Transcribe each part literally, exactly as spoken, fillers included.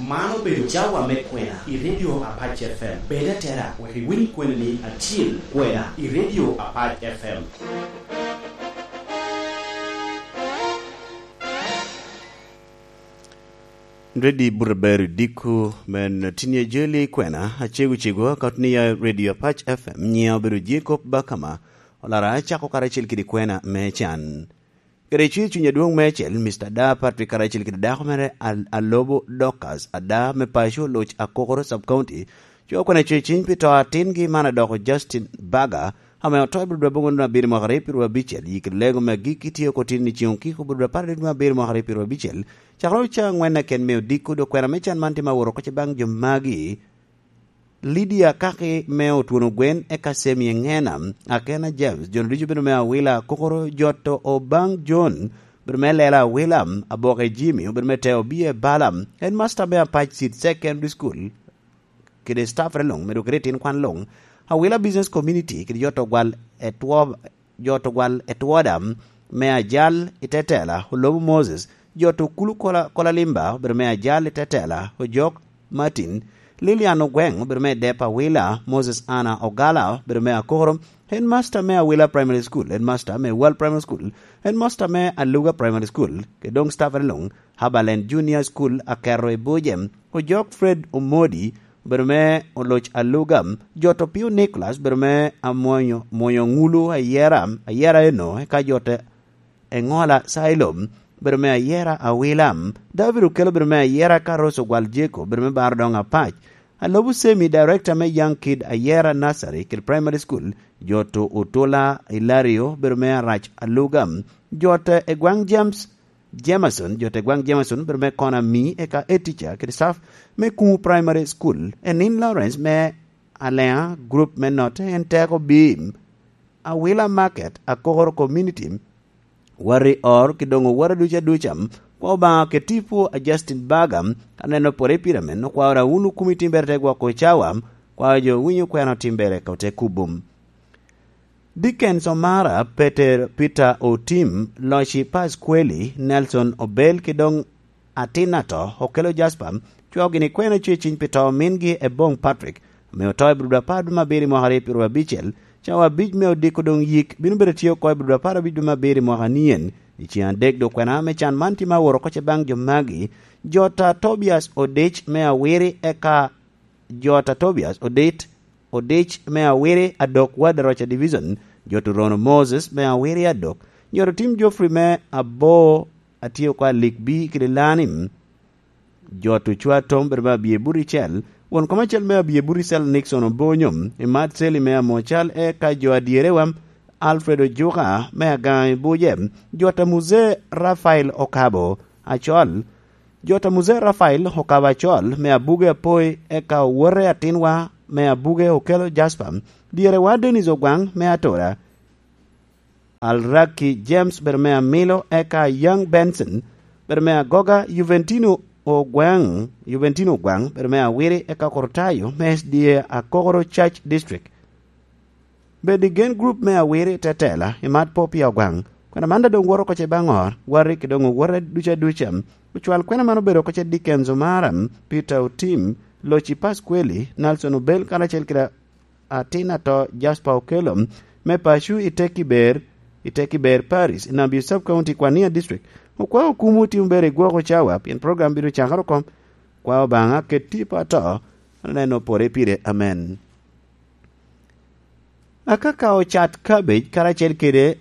Man obedo cawa me kwena i Radio Apac F M. Bed atera wek iwiny kweni ni acil kwena i Radio Apac F M. Redi Buraberi Diku men tinye jeli kwena acegu cegu akot ni ya Radio Apac F M, nyiya obedo Jacob Bakama. Olara acako karacel kede kwena me can. Kede cwir cuny adwoŋ meicel, Mister Da Patrick karacel kede dako mere Al-, Alobo Dorcas Ada me paco Oloc Akokoro Sub County, coo kwena cwir cuny pi to atingi man adoko Justin Baga, ame oto i Biblia boŋo nino abiro mwaka aryo pyeraryo abicel, yik lego me agikki tye oko tin i ceŋ okiko Biblia apar adek dwe abiro mwaka aryo pyeraryo abicel, cakere ocaŋ aŋwen aken me odiko, dok kwena me can man tye ma woro oko ce baŋ jo magi. Lydia Kaki me Otwono Gwen, eka Semi Eŋena, Akena James, jo ducu bedo me Awila, Kokoro Joto Obaŋ John, bedo me Lela Awila, Aboke Jimmy, obedo me Teo Bie Bala, en masta me Apac Seed Secondary School, kede staff re luŋ, medo kede tin kwan luŋ, Awila Business Community, kede Joto Gwal Etwo-, Joto Gwal Etwoda, me Ajal i Tetela, Olobo Moses, Joto Kulu Kola, Kola Limba, obedo me Ajal i Tetela, Ojok Martin, Lilian Ogweŋ, obedo me Dep Awila, Moses Anna Ogala, obedo me Akoro, headmaster me Awila Primary School, headmaster me Wal Primary School, headmaster me Aluga Primary School, kede doŋ staff re luŋ, Habaland Junior School, Akero i Buje, Ojok Fred Omodi, obedo me Oloc Aluga, Joto Pio Nicholas, obedo me Amwonyo, Mwonyo Ŋulu Ayera, Ayera eno, eka Joto Eŋola Sailom, obedo me Ayera Awila, David Okello, obedo me Ayera, ka Rose Ogwal Jeko, obedo me Baro Doŋ Apac, Alobo Semi, director me Young Kid Ayera Nursery kede Primary School, Joto Otula Ilario, obedo me Arac Aluga, Joto Egwaŋ James, Jameson, jo te gwaŋ Jameson, obedo me Kona Mi, eka e teacher kede staff me Kumu Primary School. Enin Lawrence me Alea Group me Note, en teko bim. Awila Market, Akokoro Community, Wari Or, ki doŋ owara duca duca. Kwa Obaŋa ke tipo a Justin Baga, ka neno pore pire men, okwao ra wunu kumi timbere te gwoko cawa, kwao jo winyo kweno timbere ka te kubum. Dickens Omara, Peter, Peter Otim, Loci Pasqueli, Nelson Obel, ki doŋ atin ato, Okelo Jasper, cwao gini kwena cweciny pi to mingi Eboŋ Patrick, ame oto i Biblia apar dwe me abiro i mwaka aryo pyeraryo abicel, cawa abic me odiko doŋ yik bino bedo tye oko i Biblia apar abic dwe me abiro i mwaka nien. I ceŋ adek dwe kwena me can man tye ma woro oko ce baŋ jo magi, Jota Tobias Odec me Awiri, eka Jota Tobias Odit, Odec me Awiri Adok, Wad Aroca Division, Jota Orono Moses me Awiri Adok, Jota Tim Geoffrey me Abo, atye oko Alik Bi kede Lanim, Jota Ocwa Tom bedo me Abye Buricel, won kom acel me Abye Buricel Nixon Obonyo, Imat Seli me Amocal, eka jo adyerewa Alfred Ojuka me Agaŋ i Buje, Jota Muzee Rafael Okabo Acol, Jota Muzee Rafael Okabo Acol me Abuge Apoi, eka owote atinwa me Abuge Okelo Jasper, dyerewa Dennis Ogwaŋ me Atora, Alraki James bedo me Amilo, eka Young Benson bedo me Agoga, Juventino Ogwaŋ, Juventino Ogwaŋ bedo me Awiri, eka Korotayo me S D A Akokoro Church District. Bed i Gen Group me Awiri Tetela, Imat Popia Ogwaŋ. Kwena man doŋ woto oko ce baŋ ot, wati ki doŋ owote duca duca. Ocwal kwena man obedo oko ce Dickens Omara, Peter Otim, Loci Pasqueli, Nelson Obel, karacel kede atin ato Jasper Okello, me paco i Tekiber, i Tekiber Parish, i Nabio Sub County, Kwania District. Okwao kumu timo ber i gwoko cawa, pien program bino cakere oko. Kwa Obaŋa ket tipo ato, aneno pore pire. Amen. Akaka ocat cabbage karacel kede,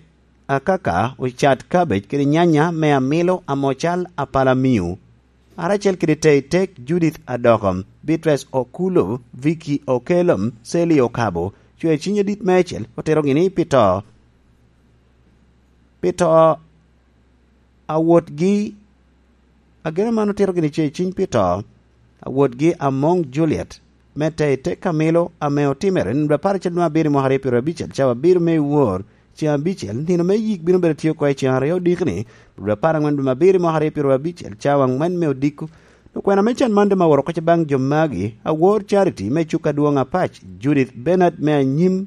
Akaka ocat cabbage kede nyanya me Amilo Amocal Apalamiu, karacel kede Teitek Judith Adoko, Beatrice Okulo, Vicky Okello, Sally Okabo, cwer ciny adit meicel, otero gini pi to, pi to awotgi. Ageno man otito gini ce ciny pi to awotgi Amoŋ Juliet, me te i te Kamilo ame otimere nino apar acel dwe abiro i mwaka aryo pyeraryo abicel, cawa abiro me wor, ceŋ abicel, nino me yik bino bedo tye oko i ceŋ aryo odikni, dwe apar aŋwen dwe abiro i mwaka aryo pyeraryo abicel, cawa aŋwen me odiko. Lukwena me can man dema woro koca baŋ jo magi, awor Charity me cuk adwoŋ Apac, Judith Bernard me anyim,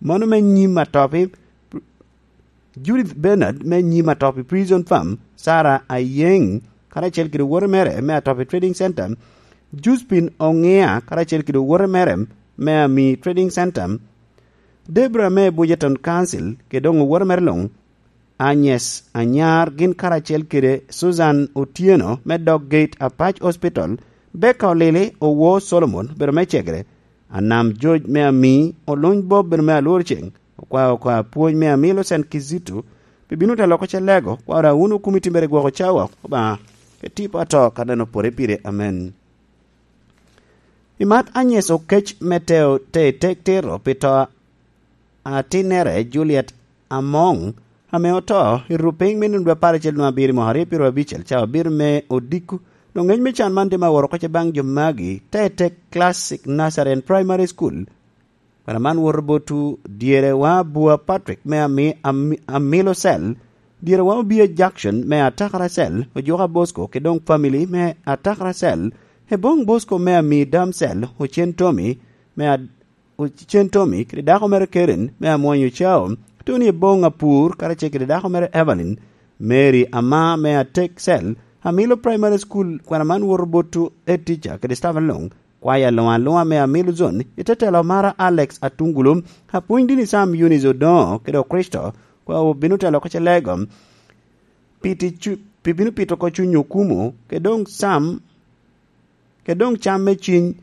mano me nyim atop i Judith Bernard me nyim atop i Prison Farm, Sarah Ayeng karacel kede owote mere me Atopi Trading Center, Juspin Oŋia karacel kede owote mere me Ami Trading Center, Debra me Bujeton Council kede doŋ owote mere luŋ, Agnes Anyar gin karacel kede Susan Otieno me Dog Gate Apac Hospital, Becca Olili owo Solomon obedo me Cegere, Anam George me Ami, Oluny Bob obedo me Alwor Ceng, okwao oko apwony me Ami Lucent Kizito, pi bino te loko ce lego, kwaro a wun okumi timbere gwoko cawa, Obaŋa, ke tipo ato ka neno pore pire. Amen. I mat Agnes Okec me teo te tek tiro pi to atinnere Juliet Among, ame oto i rupiny me nino dwe apar acel nwaŋ abiro i mwaka aryo pyero abicel, ca obiro me odiko, dok ngec me can man tye ma woro oko ce baŋ jo magi, te tek Classic Nazarene Primary School. Kwena man woto botwu, dyerewa Bua Patrick me Ami-, Ami-, Amilo Cell, dyerewa Obia Jackson me Atakara Cell, Ojuka Bosco, kede doŋ family me Atakara Cell, Ebong Bosco me Ami Dam Cell, Ocen Tommy me Ad-, Ocen Tommy, kede dako mere Karen me Amwony Ocao, Tony Ebong Apur, karacel kede dako mere Evelyn, Mary Ama me Atek Cell, Amilo Primary School, kwena man woto botwu, head teacher, kede staff luŋ, kwaya luŋ aluŋa me Amilo Zone, i te telo mara Alex Atungulu, apwony dini Sam Eunice Odoŋo, kede Okricito, kwa obino telo oko ce lego, pi tic cu-, pi bino pito oko cuny okumo, kede doŋ Sam, kede doŋ cam me ciny,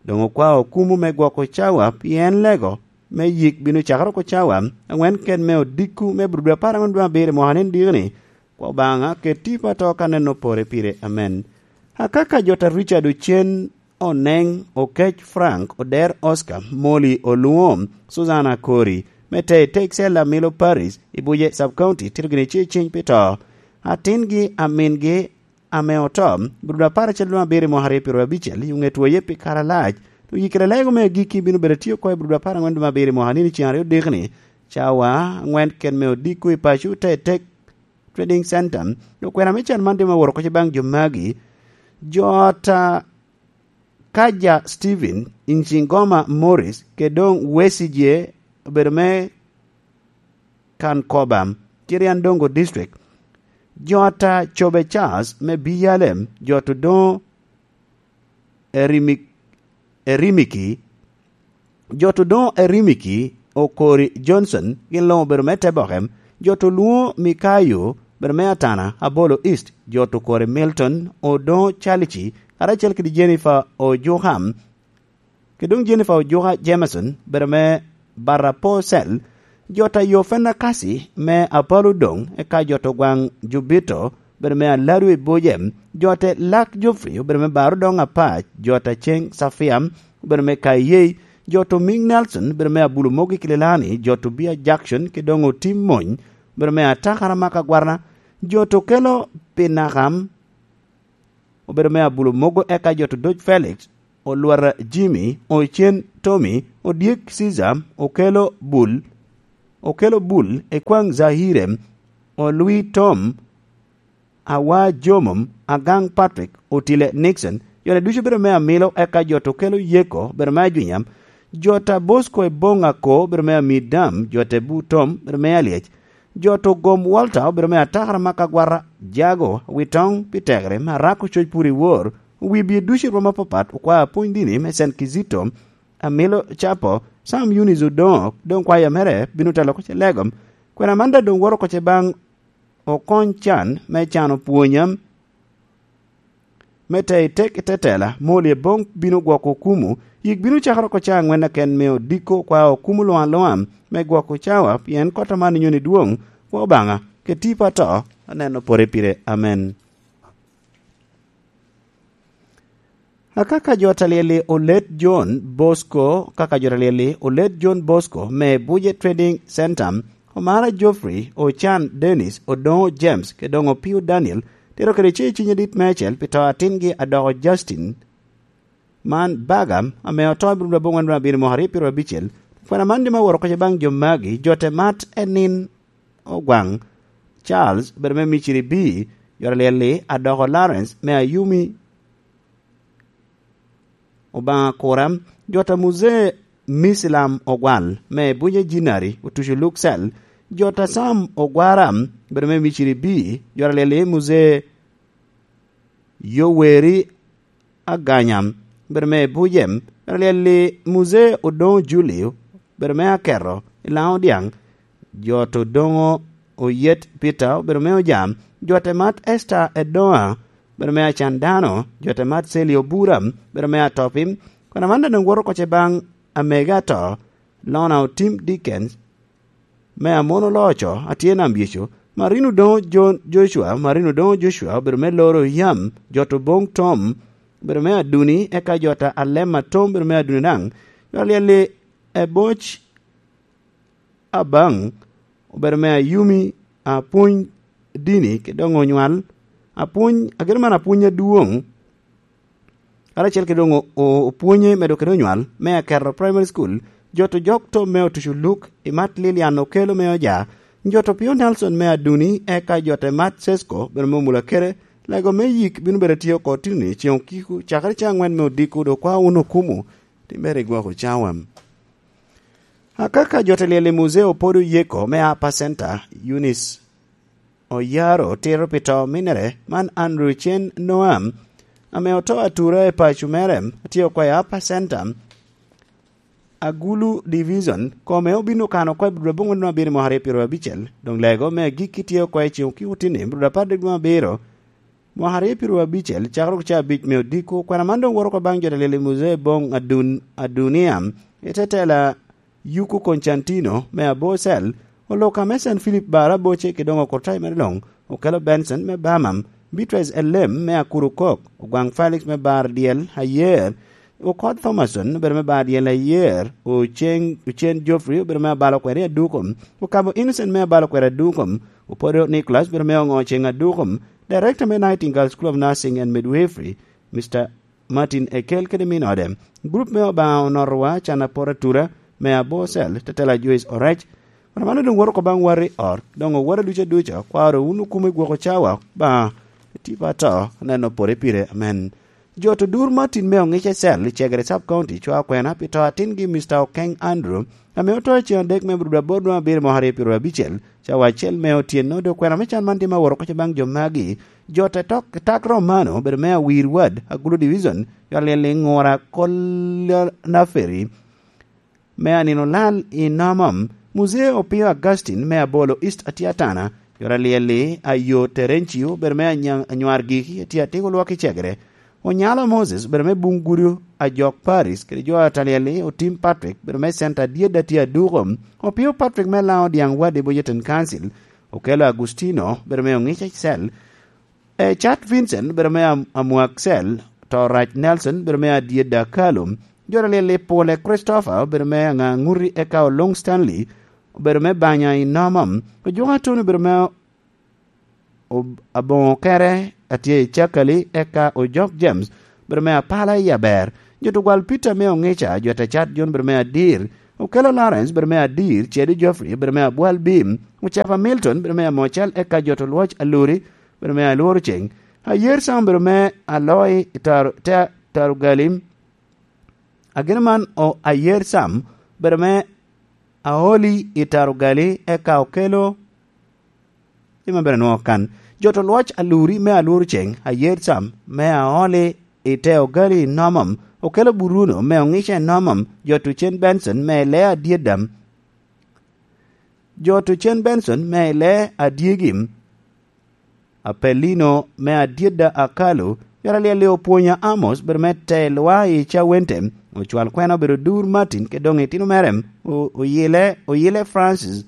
doŋ okwao okumo me gwoko cawa, pien lego me yik bino cakere oko cawa aŋwen ken me odiko me bro dwe apar aŋwen dwe abiro i mwaka ni diki-ni, kwa Obaŋa ket tipo ato ka neno pore pire. Amen. Akaka jota Richard Ocen, Oneng, Okec Frank, Oder Oscar, Molly Oluŋo, Susan Akori, me te i Texel Amilo Paris, i Buje Sub County, tito gini ce ciny pi to. Atingi, amingi, ame oto, bro dwe apar acel dwe abiro i mwaka aryo pyero abicel, i oŋet woye pi kare alac, dok yikere lego me agikki bino bedo atye oko i bro dwe apar aŋwen dwe abiro i mwaka nino ceŋ aryo diki-ni, cawa aŋwen ken me odiko i paco te tek Trading Center, dok kwena me can man tye ma woro oko ce baŋ jo magi, jota Kaja Steven, Incingoma Morris, kede doŋ Wesigye obedo me Kankoba, Kiriandongo District. Jota Cobe Charles me B L M, jota Odoŋo Erimi-, Erimiki, jota Odoŋo Erimiki, Okori Johnson, gin luŋ obedo me Teboke, jota Oluŋo Mikayo, obedo me Atana, Abolo East, jota Okori Milton, Odoŋo Chalici, karacel kede Jennifer Ojuka, kede doŋ Jennifer Ojuka Jameson, obedo me Barapo Cell, jota Yofena Kasi me Apalo Doŋ, eka jota Ogwaŋ Jubito, obedo me Aladu i Buje, jota Lak Geoffrey, obedo me Baro Doŋ Apac, jota Ceng Safia, obedo me Kayei, jota Oming Nelson, obedo me Abulo Mogo i Kililani, jota Obia Jackson, kede doŋ Otim Mony, obedo me Atakara Maka Gwarna, jota Okelo Pinakam, obedo me Abulo Mogo, eka jota Odoc Felix, Olwara Jimmy, Ocen Tommy, Odyek Caesar, Okelo Bul, Okelo Bul, Ekwaŋ Zahire, Olwi Tom, Awa Jomom, Agaŋ Patrick, Otile Nixon, jota ducu obedo me Amilo, eka jota Okelo Yeko, obedo me Ajwinya, jota Bosco Ebong Ako, obedo me Amidam, jota Ebu Tom, obedo me Alyec, jota Ogom Walter, obedo me Atakara Maka Gwarra, Jago, Witoŋ, pi tekere, me Arako Coc Pur i Wor, wi bie ducu i rwom apapat, okwao apwony dini me Saint Kizito, Amilo Capo, Sam Eunice Odoŋo, doŋ kwaya mere bino telo oko ce lego, kwena man daŋ doŋ woro oko ce baŋ Okony Can me cano pwonya me te i tek i te tela, moli Ebong bino gwoko okumu, yik bino cakere oko ca aŋwen aken me odiko kwa okumu luŋ aluŋa me gwoko cawa, pien kot aman inyoni dwoŋ, kwa Obaŋa, keti pa to, aneno pore pire. Amen. Akaka jo ta lyel i Olet John Bosco, kaka jo ta lyel i Olet John Bosco me Buje Trading Center, Omara Geoffrey, Ocan Dennis, Odongo James, kede doŋ Opio Daniel, tito kede ce i ciny adit meicel pi to atingi adoko Justin. Man baga, ame oto i bro dwe abongwen dwe abiro mwaka aryo pyero abicel, kwena man dima woro koca baŋ jo magi, jo te mat enin Ogwaŋ, Charles, obedo me Miciri B, jo ta lyel i adoko Lawrence me Ayumi, Obaŋa Kura, jo ta Muzee Misilam Ogwal, me Bunye Jinari, otuco Luksel, jo ta Sam Ogwara, obedo me Miciri B, jo ta lyel i Muzee Yoweri Aganyam, bedo me Bujem, bedo lyel i Muzee Odoŋo Julio, bedo me Aketo i Laŋo Dyaŋ, Jot Odoŋo Oyet Peter, obedo me Ojam, Jot Emat Esther Edoŋa, obedo me Acan Dano, Jot Emat Seli Obura, obedo me Atopim, kun aman doŋ woto oko ce baŋ amege ato, Lona Otim Dickens, me Amon Oloco, atye nam Yecu, Marino Odoŋo Jo-, Joshua, Marino Odoŋo Joshua, obedo me Loro Yam, Jot Oboŋ Tom, obedo me Aduni, eka Jot Alema Tom, obedo me Aduni daŋ, Jot Alyel-li Eboc Abaŋ, obedo me Ayumi, apwony dini, kede doŋ onywal, apwony, ageno man apwony adwoŋ, karacel kede doŋ o-, o-, opwonye medo kede onywal, me Aketo Primary School, Jot Ojok Tom me Otuco Luk, Imat Lilian Okelo me Oja, Jot Opio Nelson me Aduni, eka Jot Emat Sesko, obedo me Omulakere, lego me yik bino bedo tye oko tini ceŋ okiko, cakere ceŋ aŋwen me odiko, dok kwa wun okumu, timere i gwoko cawa. Akaka Jot Alyel i Muzee Opodo Yeko me Upper Center, Eunice Oyaro otito pi to ominere, man Andrew Cen Noam, ame oto atura i paco mere, atye okwayo Upper Center, Agulu Division, kome obino kano oko i Budra Bungu dwe abiro mwaka aryo pyero abicel, doŋ lego me agikki tye oko i ceŋ okiko tini, Budra apar dek dwe abiro, mwaka aryo pyero abicel, cakere oko ca abic me odiko, kwena man doŋ woto oko baŋ Jot Alyel i Muzee Boŋ Adun-, Adunia, i te tela Yuku Koncantino me Abocel, Oloka me Saint Philip bar aboce, kede doŋ Okurtai mere luŋ, Okelo Benson me Bamam, Beatrice Elem me Akurukok, Ogwaŋ Felix me bar dyel Ayer, Okot Thomason obedo me bar dyel Ayer, Ocen, Ocen Geoffrey obedo me abalo kweri Adukom, Okabo Innocent me abalo kweri Adukom, Opodo Nicholas obedo me oŋo ceŋ Adukom, Director me Nightingale School of Nursing and Midwifery, Mister Martin Ekel kede min ode. Gurup me Obaŋa Onotowa, can apor atura, me Abocel, Tetela Joyce Orec. Wan mano doŋ woto oko baŋ wati ot, doŋ owota ducu aduca, kwaro wun okumo i gwoko cawa, Obaŋa, etipa ato, aneno pore pire, amen. Jot odur Martin me Oŋica Cell i Cegere Sub County cwao kwena pi to atingi Mister Okeng Andrew, ame oto i ceŋ adek me Budura bor dwe abiro mwaka aryo pyero abicel, cawa acel me otyeno, dok kwena me can man tye ma woro oko baŋ jo magi. Jot Etok, Etak Romano, obedo me Awir Ward, Agulu Division, Jot Alyel i Ŋura Kola Naferi, me Anino Lal i Nomom, Muzee Opio Augustine me Abolo East atye atana, Jot Alyel i Ayo Terencio, obedo me Anya-, Anywar Giki, atye atiko lwak i Cegere, Onyalo Moses, obedo me Buŋ Gudo, Ajok Paris, kede Jot Alyel i Otim Patrick, obedo me Center Adyed atye Aduko, Opio Patrick me Laŋo Dyaŋ Ward i Bojeten Council, Okelo Agustino, obedo me Oŋica Cell, Ecat Vincent, obedo me Am-, Amwak Cell, Torac Nelson, obedo me Adyed Akalo, Jot Alyel i Pule Christopher, obedo me Aŋaŋuti, eka Oluŋ Stanley, obedo me Banya i Nomom, Ojuka Tony, obedo me Ob-, Aboŋo Kere, atye i Cakali, eka Ojok James, obedo me Apala i Aber, Jot Ogwal Peter me Oŋica, Jot Ecat John, obedo me Adir, Okelo Lawrence, obedo me Adir, Cedi Geoffrey, obedo me Abwal Bim, Ocapa Milton, obedo me Amocal, eka Jot Olwoc Aluri, obedo me Alworo Ceŋ, Ayer Sam, obedo me Aloi i Tar-, Te-, Tarugalim, ageno man o Ayer Sam, obedo me Aoli i Tarugali, eka Okelo, i ma bene nwoŋo kan. Jot Olwoc Aluri me Alworo Ceŋ, Ayer Sam, me Aoli i Te Ogali i Nomom, Okelo Buruno me Oŋica i Nomom, Jot Ocen Benson me Ilea Adyedam, Jot Ocen Benson me Ilea Adyegim, Apelino me Adyedda Akalo, Jot Alyel i Opwonya Amos, obedo me Te Lwa i Cawente, Ocwal Kwena obedo Dur Martin, kede doŋ itino mere, o-, Oyile, Oyile Francis,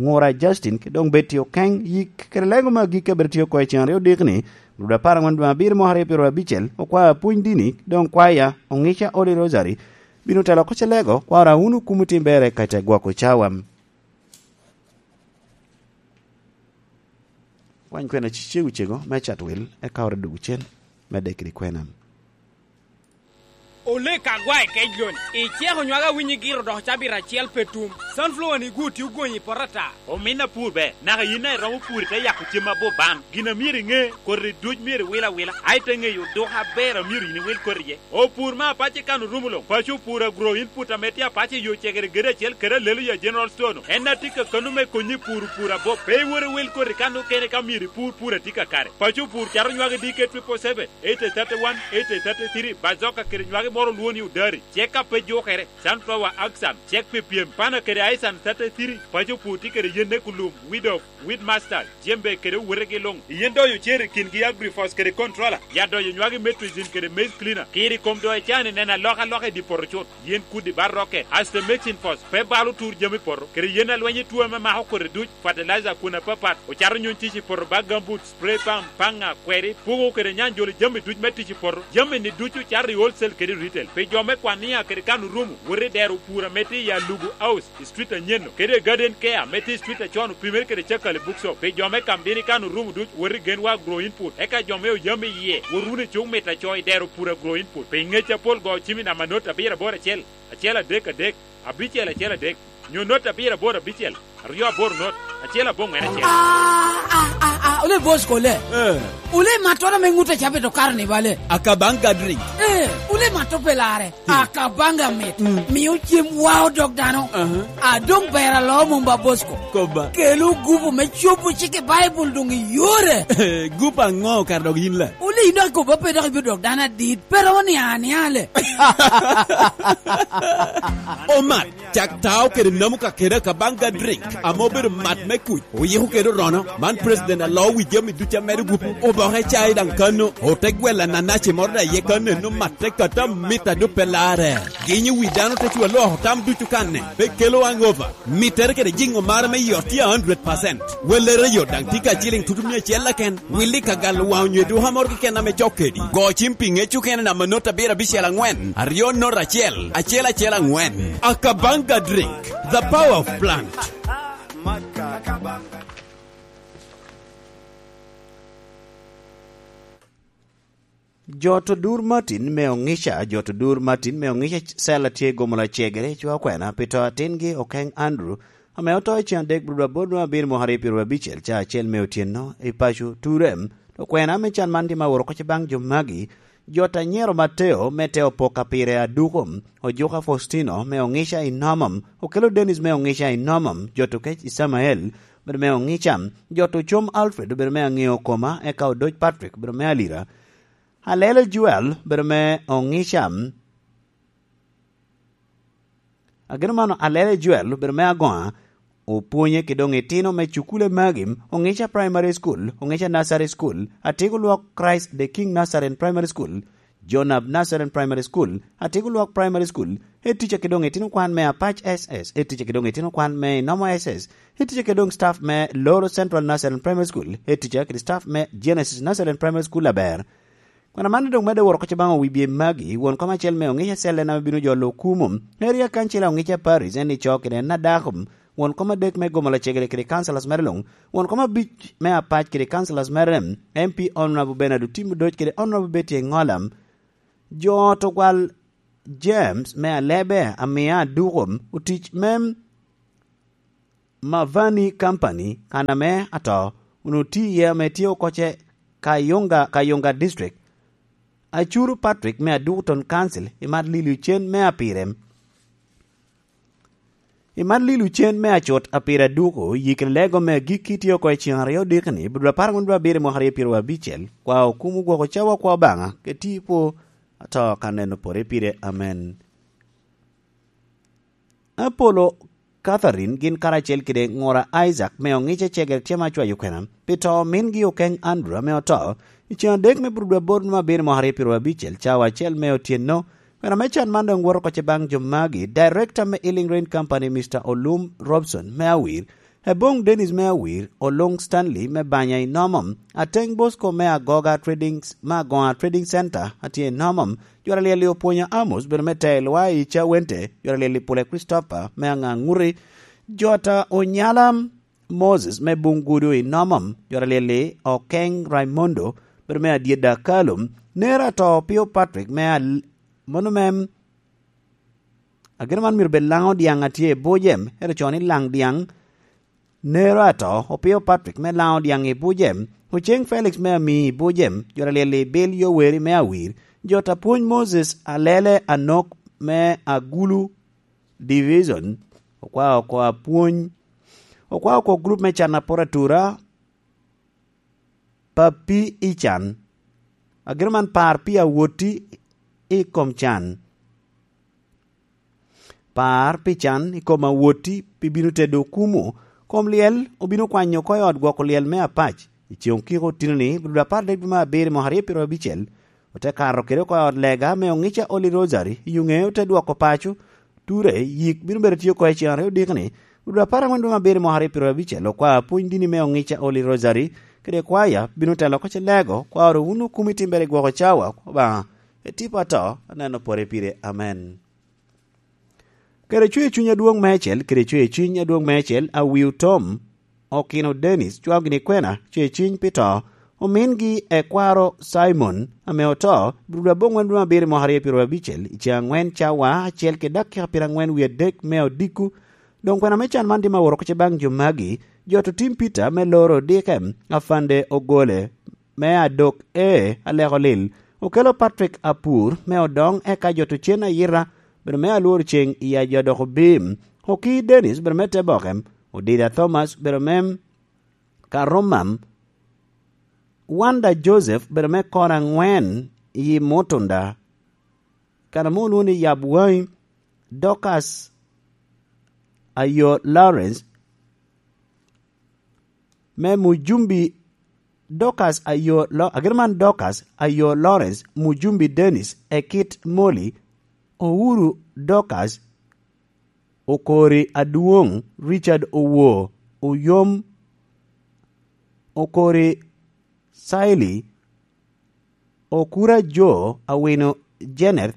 Ŋura Justin, kede doŋ Betty Okeng, yik kede lego me agikki a bedo tye oko i ceŋ aryo odikni, Rwot apar aŋwen dwe abiro mwaka aryo pyero abicel, okwaya pwony dini, doŋ kwaya, Oŋica Holy Rosary, bino telo oko celego, kwara wun okumo tim bere ka te gwoko cawa. Wany kwena cicegu cego me cat wil, eka oro dwogo cen, me dek kede kwena. Olek agwae kec loni, iceko nywaga winyi giro dok cabit acel pe tum. Sunflower ni gwo tye ogonyo i poto ata. Omin apur ber, naka yin daŋ iromo pur ite yako cem aboban. Gin a myero iŋe, koti duc myero iwil awila, a ite ŋeyo oduka aber a myero yin iwil koti iye. Opur me apac i kan orumo luŋ, paco opur agro input ame tye apac i yo cegere gedo acel kede alelo ya General Store-nu. En a tye kakano me konyi i pur opur abop. Pe iwot iwil koti kan okene ka myero ipur pur a tye kakare. Paco opur cato nywagi D K triple seven, eighty thirty-one, eighty thirty-three, bazoka kede nywagi moro olwo ni odari. Cek a pe jukere, sunflower aksam, cek pi pyem, pana kede aisan thirty-three, paco pur tye kede yenne kulum, weed of, weed master, jembe kede owetegi luŋ. Yen doyo cer i kingi agrifos kede controller, ya doyo nywagi metrizin kede maize cleaner. Kiri kom doyo cani neno alokaloka i di poto cut, yen kudi ba rocket, asto mixing force, pe balo tur jami poto, kede yen alweny i tuo ame mako kodi duc, fertilizer kun apapat, ocato nyuŋ tic i poto ba gumboots, spray pump, paŋa, kweri, pugo kede nyanjolo jami duc me tic i poto. Jami-ni ducu cato i wholesale kede retail. Pi jo me Kwania kede kan orumo, wot i dero pur ame tye i Alugu House, i street anyen-nu, kede Garden Care ame tye i street acon opimere kede Cakali Bookshop. Pi jo me Kamdini kan orumo duc, wot i Genwa Agro Input. Eka jo me Oyam iye, wot wunu i Cuk Mit Aco i dero pur Agro Input. Pi ngec apol go cim i namba not abiro aboro acel, acel adek adek, abicel acel adek, nyo not abiro aboro abicel, aryo aboro not, acel aboŋwen acel. Ah, ah, ah, ah, ole boss kole. Eh. Ole matwara me ŋut a cabe to karo ni bale. Akabanga drink. Eh, ole mato pelare. Hmm. Akabanga mit. Hmm. Miyo cem wa odok dano. Aha. A doŋ ber alo mom ba boss ko. Koba. Kelo gupu me cobo cik i Baibul doŋ i yore. Gupu aŋo kara dok yin la? Ole ino akoba pe dok ibiro dok dano adit. Pero onianiale. Omat, cak tao kede namo kakede Akabanga drink, ame obedo mat me kuc, oyiko kede orono. Man president aloo wi jami ducu amedo gupu. Oboke cai daŋ kano, ote gwel ananaci moro daŋ iye kano, eno matte kata mita dupe lare. Ginyo wi dano te cwa loko tam ducu kanne, pe kelo hangover. Mittere kede jiŋo mara me yot tye a hundred percent. Wellere yot daŋ tye ka ciliŋ tutu mia acel keken. Willi ka galo waŋ onyo eduka moro keken ame cok kedi. Go cim pi ŋec okene namba not abiro abicel aŋwen, aryo not acel, acel acel aŋwen. Akabanga drink, the power of plant. Jot odur Martin me Oŋica, jot odur Martin me Oŋica cel a tye gomo lacegere i cwa okwena pi to atingi Okeŋ Andrew, ame oto i cen adek bro aboro nwa abiro mwaka aryo pyero abicel ca acel me otyeno i paco Turem. Okwena me can man tye ma woro kocce baŋ jo magi, jot anyero Mateo me te opok a pire aduko, ojuka Faustino me Oŋica i Nomom, okelo Dennis me Oŋica i Nomom, jot okec Isamael, obedo me Oŋica, jot ocom Alfred, obedo me aŋeo koma, eka odoc Patrick, obedo me alira. Alele Joel obedo me Oŋica. Ageno mano, Alele Joel obedo me agoŋa, opwonye ki doŋ itino me cukule magi, Oŋica Primary School, Oŋica Nursery School, Atiko Lwok Christ the King Nursery and Primary School, Jonab Nursery and Primary School, Atiko Lwok Primary School, etica ki doŋ itino kwan me Apac S S, etica ki doŋ itino kwan me Inomo S S, etica ki doŋ staff me Loro Central Nursery and Primary School, etica kede staff me Genesis Nursery and Primary School aber. Kwena man doŋ medde woro kocce baŋ owibye magi, won kom acel me Oŋica Cellen ame bino jolo okumo, Area Council Oŋica Parish, en ico kede en adako, won kom adek me gomo lacegere kede councillors mere luŋ, won kom abic me Apac kede councillors mere, M P Honorable Bernard Otim Odoc kede Honorable Betty Engola, jo otogwal James me Alebe, Amia Aduko, otic me Mavani Company, kan ame ato, onwoŋo tye iye ame tye okocce Kayunga, Kayunga District. Acuru Patrick me Aduku Town Council, imat lili ocen me apire. Imat lili ocen me acut apire aduku, yikere lego me agikki tye oko i cen aryo odikni, bro apar angwen bro abiro i mwaka aryo pyero abicel, kwa okumo gwoko cawa kwa Obaŋa, ke tipo ato ka neno pore pire. Amen. Apolo Catherine gin karacel kede ŋura Isaac me Oŋica cegere tye ma cwayo kwena pi to omingi Okeŋ Andrew ame oto i cen adek me bur dwe aboro numa abiro mwaka aryo pyero abicel cawa acel me otyeno. Kwena me can man doŋ woto kocce baŋ jo magi, Director me Healing Rain Company, Mister Olum Robson me Awir, Eboŋ Dennis me Awir, Oloŋ Stanley me Banya i Nomom, Ateŋ Bosco me Agoga Trading, me Agoga Trading Center atye i Nomom, Jwara Lyel-li Opwonyo Amos bedo me Tei Lwai i Cawente, Jwara Lyel-li Pule Christopher me Aŋaŋuti, Jota Onyala Moses me Bungudu i Nomom, Jwara Lyel-li Okeŋ Raimondo bedo me Adyedda Kalum, Nera to Pio Patrick me Al-, mano me Ageno man myero bed laŋo diaŋ a tye i buc em, ento co ni laŋ diaŋ nero ato opio Patrick me laŋo diaŋ i buc em, oceŋ Felix me ami i buc em, jo alyel i bil yo weri me awir, jo ta pwony Moses alele anok me Agulu Division, okwao oko apwony, okwao oko grup me can apor atura, Papi i can. Ageno man par pi awoti i kom can. Par pi can i kom awoti pi bino tedo okumu. Kom lyel obino kwanyo oko i ot gwoko lyel me apac. I ceŋ okiko otino-ni, bino apar dek dwe me abiro i mwaka aryo pyeraryo abicel, ote kato kede oko i ot lega me oŋica Holy Rosary i Yuŋe, ote dwoko paco, ture, yik bino bedo tye oko i ceŋ aryo odiko-ni, bino apar angwen dwe me abiro i mwaka aryo pyeraryo abicel, okwa apwony dini me oŋica Holy Rosary, kede kwaya bino telo oko ce lego, kwa oro wun okumo i timbere i gwoko cawa, Obaŋa, etipo ato, aneno pore pire. Amen. Kede cwer cuny adwoŋ meicel, kede cwer cuny adwoŋ meicel, Awiu Tom, Okino Dennis, cwao gini kwena, cwer cuny pi to, omingi ekwaro Simon, ame oto, biro dwe aboŋwen dwe abiro i mwaka aryo pyeraryo abicel, i ceŋ angwen cawa acel kede dakika pyerangwen wie adek me odiko. Doŋ kwena me can man dim aworo oko ce baŋ jo magi, jo otim Peter me loro odike, Afande Ogole, me adok e aleko lil, okelo Patrick Apur me odoŋ, eka jo to cen ayita, bedo me alworo ceŋ i ajo adok obim, Oki Dennis, bedo me te boke, Odida Thomas, bedo me Karomam, Wanda Joseph, bedo me kor angwen i Mutunda, kan ame olwoŋo ni Yab Waŋi, Dorcas Ayo Lawrence, me Mujumbi Dorcas Ayo Lo-, ageno man Dorcas Ayo Lawrence, Mujumbi Dennis, Ekit Moli, Ouru Dorcas, Okori Adwoŋ, Richard Owo, Oyom, Okori Saili, Okura Jo, Awino Jeneth,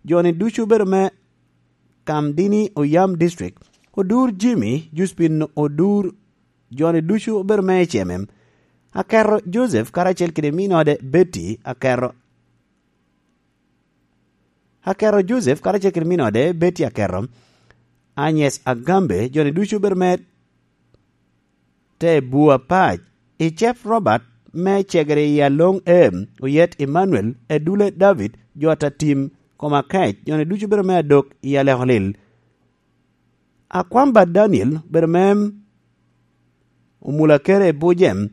jo-ni ducu obedo me Kamdini Oyam District, Odur Jimmy, Juspin Odur, jo-ni ducu obedo me Ecemem, Aketo Joseph karacel kede minode Betty Aketo, Aketo Joseph karacel kede minode Betty Aketo, Agnes Agambe, jo-ni ducu obedo me te bwu apac, i Cep Robert me Cegere i Aloŋ Em, Oyet Emmanuel, Edule David, jo ata tim kom akec, jo-ni ducu bedo me adok i aleko lil. Akwamba Daniel bedo me Omula Kere i Bujem,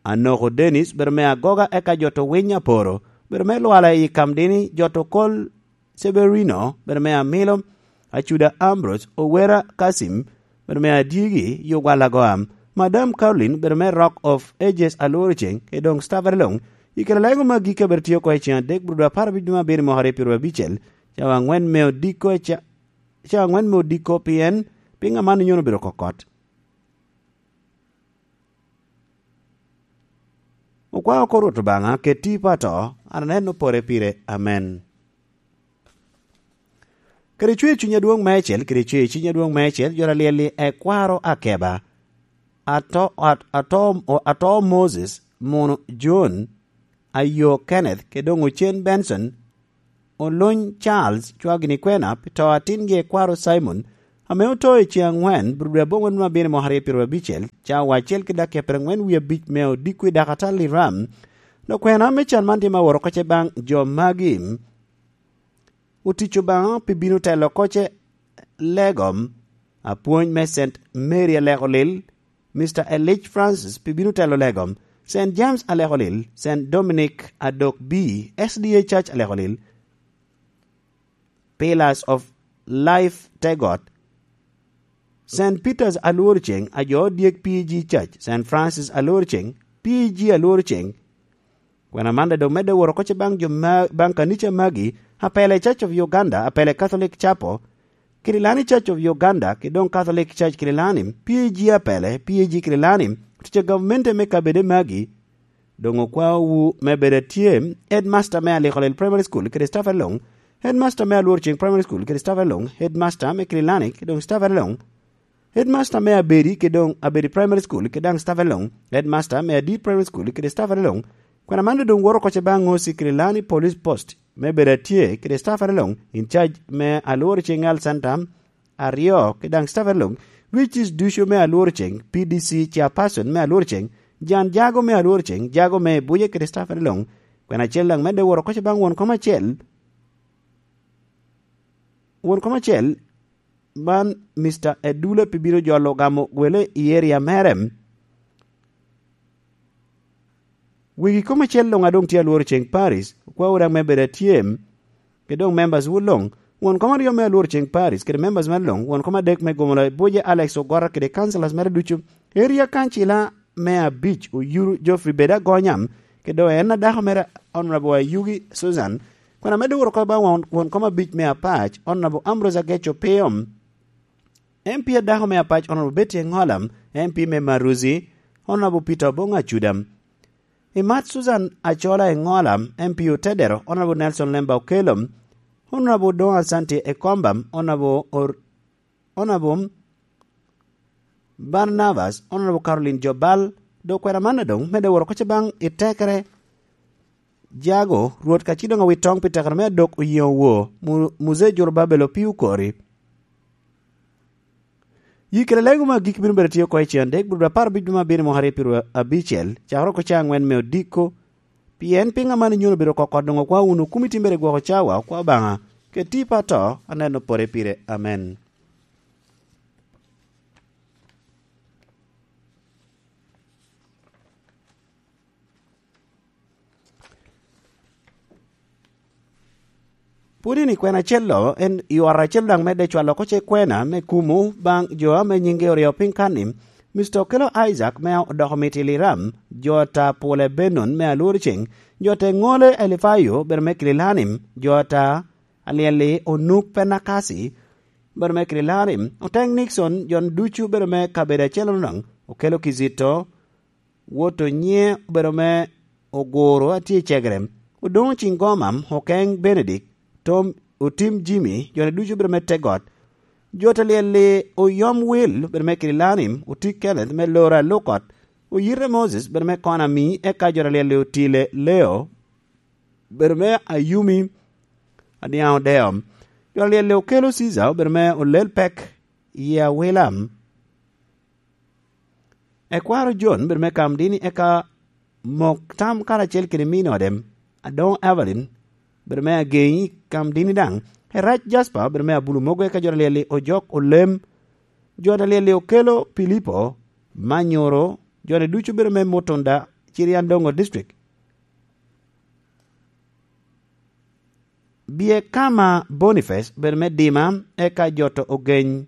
Anoko Dennis bedo me Agoga, eka jo to Winy Aporo bedo me Lwala i Kamdini, jo to Kol Severino bedo me Amilo, Acuda Ambrose, Owera Kasim bedo me Adyegi, Yugwal Agoam, Madam Caroline bedo me Rock of Ages Alworo Ceŋ, i doŋ Stafari Loŋ, i kare lego magi ka bedo tye oko i ceŋ adek, bro dwe apar abic dwe me abiro i mwaka aryo pyeraryo abicel, cawa aŋwen me odiko, ca-, cawa aŋwen me odiko, pien piŋ aman nyono obedo kokot. Okwao oko Rwot Obaŋa, keti i pato, an aneno pore pire. Amen. Kede cwer cuny adwoŋ meicel, kede cwer cuny adwoŋ meicel, jo alyel-li ekwaro Akeba, ato, at-, ato, ato Moses, muno John, ayo Kenneth, kede doŋ ocen Benson, Olony Charles, cwagini kwena, pi to atingi ekwaro Simon, ame oto i ceŋ aŋwen, bro dwe aboŋwen me abino i mwaka aryo pyeraryo abicel, cawa acel ki dakika pyeraŋwen wie abic me odiko i dakatal i ram. Dok kwena me can man tye me aworo oko ce baŋ jo magi. Otic Obaŋa pi bino telo oko ce legom, apwony me Saint Mary Aleko Lil, Mister Elijah Francis pi bino telo legom, Saint James Aleko Lil, Saint Dominic Adok B, S D A Church Aleko Lil, Pillars of Life Tegot, Saint Peter's Alwor Ceŋ, ajo dyek P G Church, Saint Francis Alwor Ceŋ, P G Alwor Ceŋ. Kwena man daŋ medde woro oko ce baŋ jo ma, baŋ kanica magi, apele Church of Uganda, apele Catholic Chapel, Kirilani Church of Uganda, ki doŋ Catholic Church Kirilani, P A G apele, P A G Kirilani, otic a gavmente me kabede magi. Doŋ okwao wu me bedo atye, headmaster me Aliko Lil Primary School, kede staff along, headmaster me Alwor Ceŋ Primary School, kede staff along, headmaster me Kirilani, kede doŋ staff along, headmaster me Abedi, kede doŋ Abedi Primary School, kede daŋ staff along, headmaster me Adit Primary School, kede staff along. Kwena man doŋ woro oko ce baŋ O C Kirilani Police Post, me bedo atye kede staffere luŋ, in charge me alworo ceŋ health center aryo, kede daŋ staffere luŋ, which is ducu me alworo ceŋ, P D C chairperson me alworo ceŋ, jan jago me alworo ceŋ, jago me buce kede staffere luŋ, kwena acel daŋ medde woro koca baŋ won kom acel, won kom acel, man Mister Edula pi bino jolo gamo gwele i area mere. Wegi kom acel luŋ a doŋ tye alworo ceŋ Paris, okwawu daŋ me bedo atyem, kede doŋ members wu luŋ, won kom aryo me alworo ceŋ Paris, kede members mere luŋ, won kom adek me gomola Boje Alex Ogora kede councillors mere ducu, area kancila me abic Oyuru Geoffrey Beda Gonyam, kede doŋ en adako mere Honorable Ayugi Susan, kun amedde woro oko baŋ won, won kom abic me apac, Honorable Ambrose Ageco Piyom, M P adako me apac, Honorable Betty Engola, M P me Maruzi, Honorable Peter Obong Acuda. Imat Susan Achola Engola, M P Otedero, Honorable Nelson Lemba Okello, Honorable Don Asante Ekomba, Honorable Or-, Honorable Barnabas, Honorable Caroline Jobal, dok kwena man adoŋ medde woro koca baŋ i tekere jago, Rwot ka ci doŋ awit toŋ pi tekere me adok oyeŋo wo, Mu-, Muzee Jorobabel Opiyo Okori. Yi kede lego me agikki bino bedo tye oko i cen adek, bur apar abic dwe me abiro mwaka aryo pyero abicel, cakere oko cawa aŋwen me odiko. Pien piŋ aman inyono obedo kokot doŋ okwa wunu, kumi timbere gwoko cawa, okwa Obaŋa, keti pa to, aneno pore pire. Amen. Pwod in i kwena acel-lo, en i ot acel daŋ medde cwalo oko ce kwena me kumo baŋ jo ame nyingi oryo piny kan-ni, Mister Okello Isaac me odoko miti Liram, jo ta Pule Benon me Alworo Ceŋ, jo te Ŋole Elifayo bedo me Kililanim, jo ta Alyel-li Onuk Penakasi bedo me Kililanim, oteŋ Nixon, jo ducu bedo me kabedo acel-lono daŋ, Okello Kizito, wot Onyiŋe obedo me Oguro a tye i Cegere, Odoŋo Ciŋgoma, Okeŋ Benedict, Tom, Otim Jimmy, jo-ni ducu obedo me Tegot. Jo ta Alyel-li Oyom Wil obedo me Kililanim, Oti Kenneth me Loro Alukot, Oyite Moses obedo me Konami, eka jo ta Alyel-li Otile Leo obedo me Ayumi Adiaŋ Odeo. Jo ta Alyel-li Okello Ciza obedo me Olel Pek i Awilam. Ekwaro Jon bedo me Kamdini, eka Mok Tam karacel kede min ode, Adoŋo Evelyn, bedo me Ageŋi Kamdini daŋ, Erac Jasper bedo me Abulu Mogo, eka jo ta Alyel-li Ojok Olem, jo ta Alyel-li Okello Pilipo, Manyoro, jo-ni ducu bedo me Mutunda, Cirian Doŋo District. Bie Kama Boniface obedo me Dima, eka jo ta Ogeny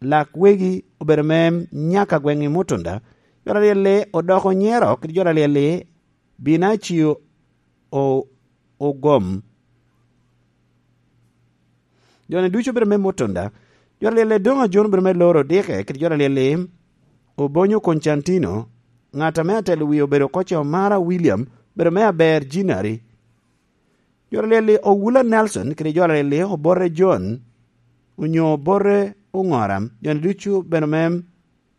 Lak Wegi obedo me Nyaka gweŋ i Mutunda, jo ta Alyel-li Odoko Nyero kede jo ta Alyel-li Binacio O-, Ogom. Jo-ni ducu obedo me Mutunda, jo ta Alyel-li Doŋo Ajon obedo me Loro Dike kede jo ta Alyel-li Obonyo Koncantino, ŋat ame atelo wie obedo oko ce Omara William, obedo me Aber Jinari. Jo ta Alyel-li Owula Nelson kede jo ta Alyel-li Obote John, onyo Obote Oŋora, jo-ni ducu bedo me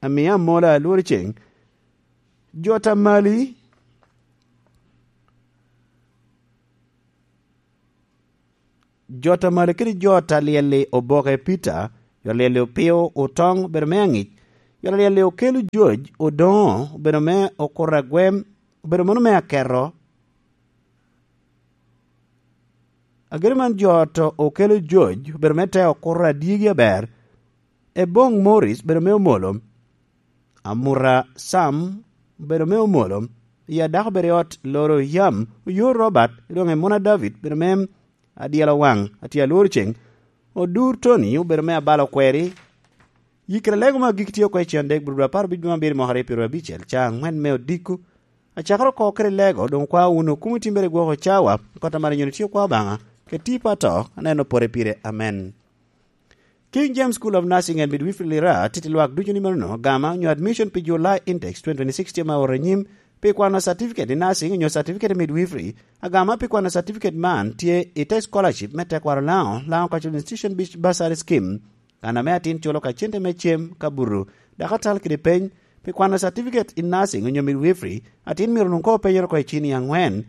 Amia Amola Alworo Ceŋ. Jo ta Mali, jo ta Mali kede jo ta Alyel-li Oboke Peter, jo ta Alyel-li Opio Otoŋ obedo me Aŋic, jo ta Alyel-li Okello George Odoŋo obedo me Okuto Agwem, obedo mano me Aketo. Ageno man jo ta Okello George obedo me te Okuto Adyegi Aber, Eboŋ Morris obedo me Omolo, Amuta Sam obedo me Omolo, i adako obedo i ot Loro Yam, Oyo Robert, doŋ Emuna David obedo me Adyelo Waŋ, atye Alworo Ceŋ, Odur Tony obedo me Abalo Kweri. Yikere lego me agikki tye oko i cen adek, bur apar abic dwe me abiro mwaka aryo pyero abicel, ca aŋwen me odiko. Acakere oko kede lego, doŋ okwa wunu, kumo timbere gwoko cawa, kota mara nyoni tye okwa Obaŋa, keti pa to, aneno pore pire. Amen. King James School of Nursing and Midwifery Lira titi lwak ducu ni manono, gama onyo admission pi July intakes twenty twenty-six tye ma oto anyim pi kwano certificate i nursing onyo certificate i midwifery. Agama pi kwano certificate man tye i te scholarship me tekwaro Laŋo, Laŋo Cultural Institution Beach Bursary Scheme. Kan ame atin culo ka cente me cem, ka buto, dok atal kede peny pi kwano certificate i nursing onyo midwifery, atin myero onwoŋ koŋ openyere oko i cini aŋwen.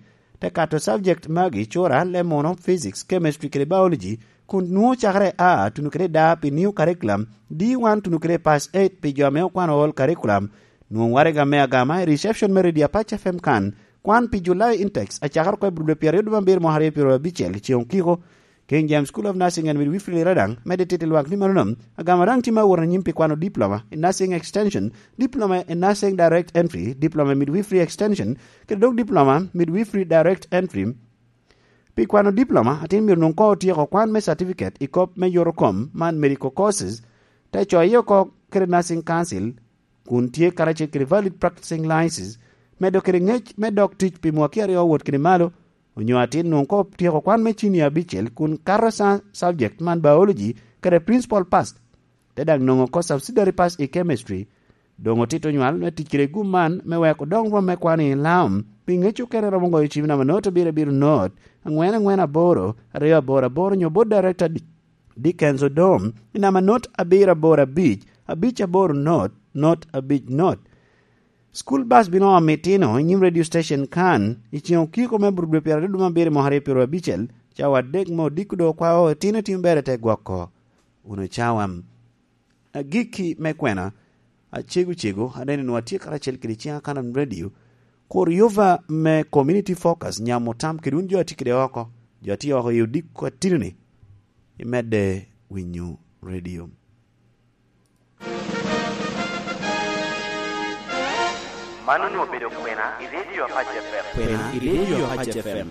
Ekato subject magi cura, le muno, physics, chemistry kede biology, kun nwoŋo cakere A tuno kede da pi new curriculum, D one tuno kede pass eight pi jo ame okwano all curriculum. Nwoŋo waraga me agama i reception me Radio Apac F M kan, kwan pi July intakes acakere oko i Bulobe pyeraryo dwe abiro mwaka aryo pyeraryo abicel i ceŋ okiko. King James School of Nursing and Midwifery Radang medde tito lwak ni manono, agama daŋ tye ma wot anyim pi kwano diploma i Nursing Extension, diploma i Nursing Direct Entry, diploma i Midwifery Extension, kede dok diploma Midwifery Direct Entry. Pi kwano diploma, atin myero nwoŋ koŋ otyeko kwan me certificate i kop me yoto kom man medical courses, te coye oko kede Nursing Council, kun tye karacel kede valid practicing license, medo kede ŋec me dok tic pi mwaki aryo wot kede malo, onyo atin nwoŋ koŋ otyeko kwan me cinia abicel kun kato sa subject man biology kede principal pass, te daŋ nwoŋo oko subsidiary pass i chemistry. Doŋ otito nywal me tic kede gum man me weko doŋ rwom me kwano i laom, pi ŋec okene romo goyo cim namba not abiro abiro not, angwen angwen aboro, aryo aboro aboro, nyo bot director Di-, Dickens Odom, i namba not abiro aboro abic, abic aboro not, not abic not. School bus bino omo itino i nyim radio station kan, i ceŋ okiko me Bulobe pyeraryo dwe abiro mwaka aryo pyeraryo abicel, cawa adek me odiko do kwao itino timo ber i te gwoko. Uno cawa. Agikki me kwena, acego cego, aneno ni watye karacel kede ciŋ Akanam Radio, kur yuva me Community Focus nyamo tam kede wun jo atye kede oko, jo atye oko i odiko atino-ni, imedde winyo radio. Man onwoŋo obedo kwena i Radio Apac F M. Kwena i Radio Apac F M.